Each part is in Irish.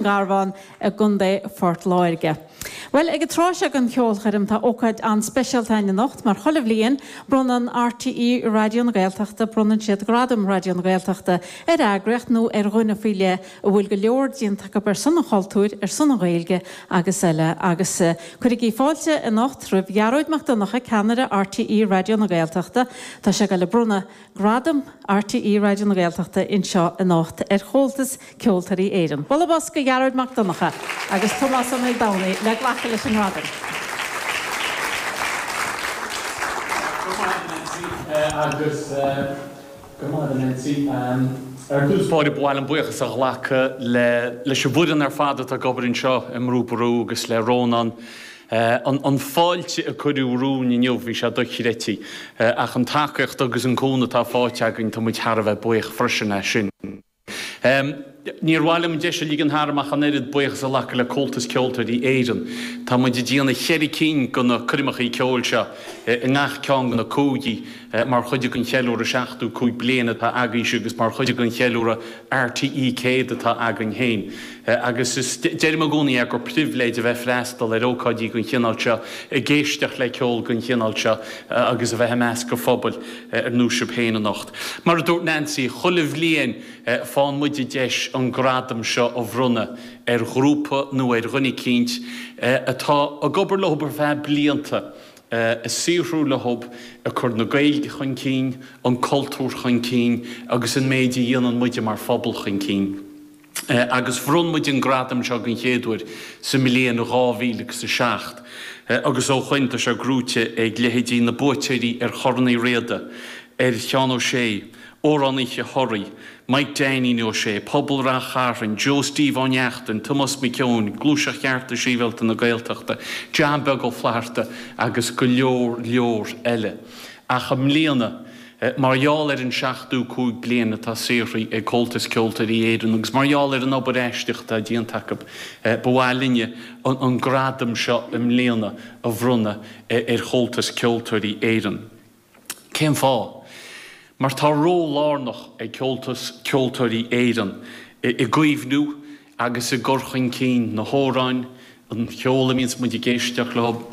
Garbhán i gContae Phort Láirge. Bhuel, ag an tráth seo den cheolchoirm tá ócáid an-speisialta againn anocht mar chuile bhliain bronnann RTÉ Raidió na Gaeltachta bronnann siad Gradam Raidió na Gaeltachta ar eagraíocht nó ar dhuine faoi leith a bhfuil go leor déanta acu ar son an chultúir, ar son an Ghaeilge agus eile. Agus cuirigí fáilte anocht roimh Ghearóid Mac Donncha, ceannaire RTÉ Raidió na Gaeltachta. Tá sé ag dul ag bronnadh Gradam RTÉ Raidió na Gaeltachta anseo anocht ar Chomhaltas Ceoltóirí Éireann. Bualadh bos do Ghearóid Mac Donncha agus Tomás Ó Maoldomhnaigh le glacadh leis an ngradam. Go maith a Nancy agus go maith a Nancy. Ar dtús báire ba mhaith liom buíochas a ghlacadh le leis an bhfoireann ar fad atá ag obair anseo i mBrú Ború agus le Rónán. An fáilte a cuireadh romhainn inniu, bhí sé dochreidte. Ach an tacaíocht agus an cúnamh atá faighte againn, tá muid thar a bheith buíoch freisin as sin. Níor mhaith liom an deis a ligean tharam ach an oiread buíochas a ghlacadh le Comhaltas Ceoltóirí Éireann. Tá muid ag déanamh cheithre cinn de na coirmeacha ceoil seo i ngach ceann de na cúigí mar chuid den cheiliúradh 75 bliain atá agaibhse agus mar chuid den cheiliúradh RTÉ 100 atá againn féin. Agus is, deirim i gcónaí é, gur pribhléid a bheith ag freastal ar ócáidí den chineál seo, ag éisteacht le ceol den chineál seo agus a bheith i measc an phobail ar nós sibh féin anocht. Mar a dúirt Nancy, chuile bhliain faigheann muid an deis an gradam seo a bhronnadh ar ghrúpa nó ar dhuine eicínt atá ag obair leo ar feadh blianta, ag saothrú leo, ag cur na Gaeilge chun cinn, an cultúr chun cinn agus an méid a dhéanann muide mar phobal chun cinn. Agus bhronn muid an gradam seo den chéad uair sa mbliain 2007 agus ó shoin tá sé gnóite ag leithéidí na buaiteoirí ar Chorn Uí Riada, ar Sheán Ó Sé, Amhrán Oíche Thoraí, Mike Dainín Ó Sé, Pobal Rath Chairn, Joe Steve Ó Neachtain, Tomás Mac Eoin, Gluaiseacht Chearta Sibhialta na Gaeltachta, John Beag Ó Flatharta agus go leor leor eile. Ach i mbliana, mar gheall ar an 75 bliain atá saothraithe ag Comhaltas Ceoltóirí Éireann agus mar gheall ar an obair aisteach atá déanta acu, ba mhaith linne an gradam seo i mbliana a bhronnadh ar Chomhaltas Ceoltóirí Éireann. Cén fáth? Mar tá ról lárnach ag Comhaltas Ceoltóirí Éireann i gcaomhnú agus i gcur chun cinn na hamhráin, an cheol a mbíonns muid ag éisteacht leo,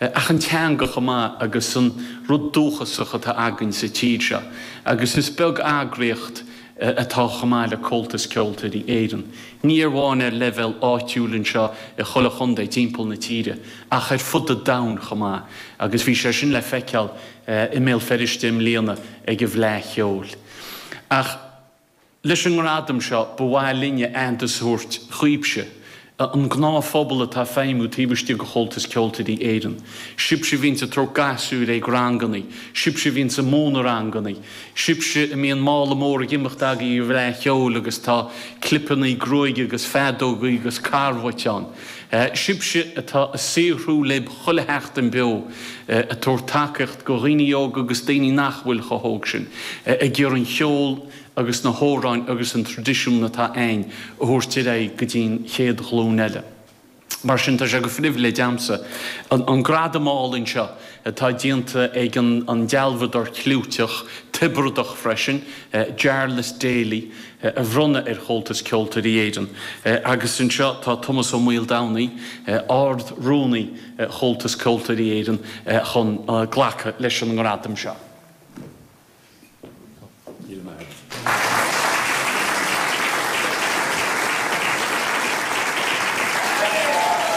ach an teanga chomh maith agus an rud dúchasach atá againn sa tír seo. Agus is beag eagraíocht atá chomh maith le Comhaltas Ceoltóirí Éireann. Ní amháin ar leibhéal áitiúil anseo i chuile chontae timpeall na tíre, ach ar fud an domhain chomh maith, agus bhí sé sin le feiceáil i mBéal Feirste i mbliana ag an bhFleadh Cheoil. Ach leis an ngradam seo, ba mhaith linne aitheantas a thabhairt dhaoibhse, an gnáthphobal atá ag feidhmiú taobh istigh de Chomhaltas Ceoltóirí Éireann. Sibhse a bhíonns ag tabhairt gasúir ag rangannaí, sibhse a bhíonns ag múineadh rangannaí, sibhse a mbíonn mála mór ag imeacht agaibh ag an bhFleadh Cheoil agus tá clipeannaí gruaige agus feadógaí agus carbhait ann. Sibhse atá ag saothrú libh chuile sheachtain beo, ag tabhairt tacaíocht go dhaoine óga agus daoine nach bhfuil chomh hóg sin, ag iarraidh an cheol agus na hamhráin agus an traidisiún atá a'ainn a thabhairt ar aghaidh go dtí'n chéad ghlúin eile. Mar sin tá sé go phribhléid a'msa an gradam álainn seo atá déanta ag an dealbhadóir cliúiteach, Tiobradach freisin, Jarlath Daly, a bhronnadh ar Chomhaltas Ceoltóirí Éireann. Agus anseo tá Tomás Ó Maoldomhnaigh, Ard-Rúnaí Chomhaltas Ceoltóirí Éireann, chun glacadh leis an ngradam seo.